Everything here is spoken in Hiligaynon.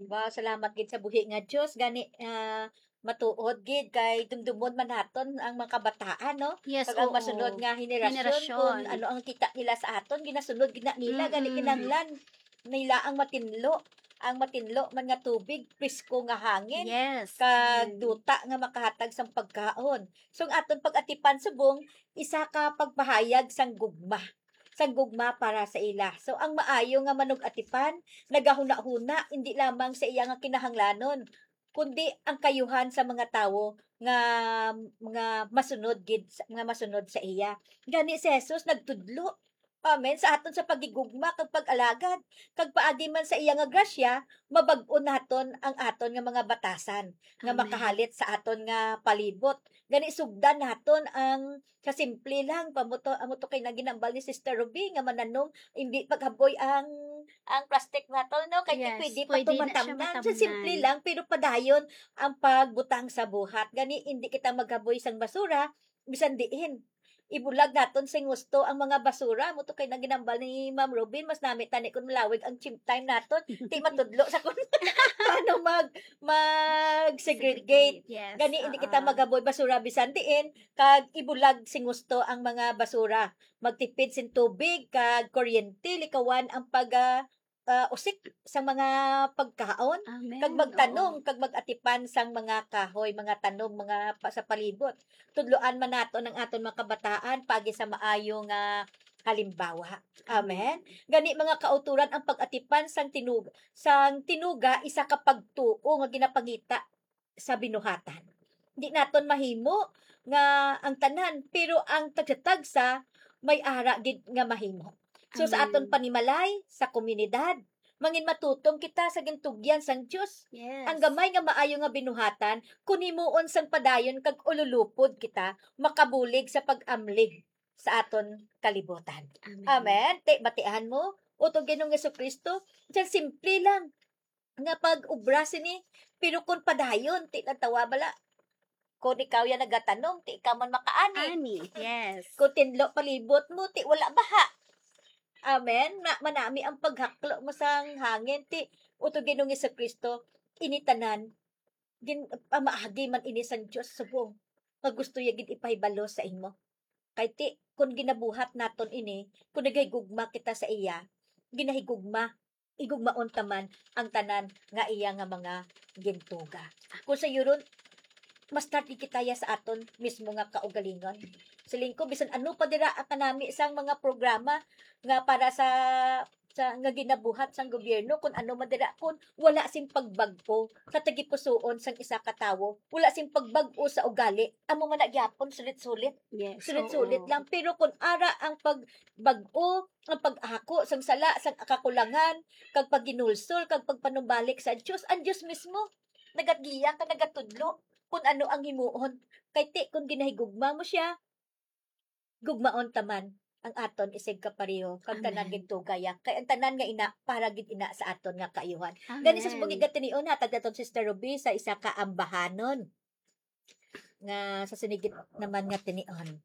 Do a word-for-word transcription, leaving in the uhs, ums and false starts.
Wow, salamat gid sa buhi nga Dios. Gani, ah, matuod gid kay dumdumon man naton ang mga kabataan, no? Yes, Kag ang oo. masunod nga henerasyon, Henerasyon. kung ano ang kita nila sa aton, ginasunod gid na nila. Gani, Mm-mm. kinahanglan nila ang matinlo, ang matinlo man nga tubig, presko nga hangin, Yes. kag Mm. duta nga makahatag sang pagkaon. So, ang aton pag-atipan subong isa ka pagpahayag sang gugma, sang gugma para sa ila. So, ang maayo nga manug-atipan nagahuna-huna hindi lamang sa iya nga kinahanglanon, kundi ang kayuhan sa mga tawo nga, nga masunod gid sa, nga masunod sa iya. Gani si Jesus nagtudlo. Amen. Sa aton sa paghigugma kag pag-alagad, kag paagi man sa iya nga grasya, mabag-o naton ang aton nga mga batasan nga Amen. makahalit sa aton nga palibot. Gani sugdan naton ang sa simple lang, pamuto, amo to kay naginambal ni Sister Ruby nga mananom, hindi paghaboy ang ang plastic nato, no? Kay Yes, pwede pa pwede to na siya matamnan. Sa matamnan. Simple lang, pero padayon ang pagbutang sa buhat. Gani, hindi kita maghaboy sang basura, bisan diin. Ibulag naton sing husto ang mga basura. Amo to kay naginambal ni Ma'am Robin, mas nami tani kung malawig ang chim time naton. Ti matudlo sa kun paano mag mag-segregate. Yes, Gani, hindi kita oo. maghaboy basura bisan diin, kag ibulag sing husto ang mga basura. Magtipid sin tubig kag kuryente, likawan ang pag, ah, ah, usik sa mga pagkaon, Amen. kag magtanom, Oo. kag mag-atipan sang mga kahoy, mga tanom, mga pa, sa palibot. Tudloan man naton ang aton mga kabataan paagi sa maayo nga halimbawa. Amen. Gani, mga kauturan, ang pag-atipan sang tinug sang tinuga isa ka pagtuo nga ginapangita sa binuhatan. Di naton mahimo nga ang tanan, pero ang tagsa-tagsa may ara gid nga mahimo. So, sa aton Amen. panimalay, sa komunidad, mangin matutom kita sa gintugyan sang Dios. Yes. Ang gamay nga maayo nga binuhatan, kun himuon sang padayon kag ululupod kita makabulig sa pag-amlig sa aton kalibutan. Amen. Amen. Ti, batihan mo, utod Ginoong Jesucristo, sa simple lang nga pag-ubra sini, pero kung padayon, ti natawa bala, kung ikaw yan nagatanom, ti ikaw man makaani. Ani, yes. Kung tinlo palibot mo, ti wala baha. Amen. Na, manami ang paghaklo mo sang hangin, ti utod Ginoong Jesucristo, ini tanan, gin, pamaagi man ini sang Dios subong nga gusto niya gid ipahibalo sa imo. Kay ti, kung ginabuhat naton ini, kung nagahigugma kita sa iya, ginahigugma, igugmaon ta man ang tanan nga iya nga mga gintuga. Kung sa yuron, mas tardi kita ya sa aton mismo nga kaugalingon. Siling ko, bisan ano pa dira ang kanami sang mga programa nga para sa, sa nga ginabuhat sang gobyerno, kung ano man dira, kung wala sing pagbag-o sa tagipusoon sang isa ka tawo, wala sing pagbag-o sa ugali, amo man na gyapon, sulit-sulit. Yes. Sulit-sulit Oo. lang. Pero kung ara ang pagbag-o, ang pag-ako sang sala, sang kakulangan, kag paghinulsol, kag pagpanumbalik sa Dios, ang Dios mismo nagagiya kag nagatudlo kung ano ang himuon. Kay ti, kung ginahigugma mo siya, gugmaon ta man ang aton isig kapareho kag tanan Amen. gintugaya. Kay ang tanan nga ina, para gid ina sa aton nga kaayuhan. Gani sa Amen. subong nga tinion, hatag naton Sister Ruby sa isa ka ambahanon nga sa sinigit naman nga tinion.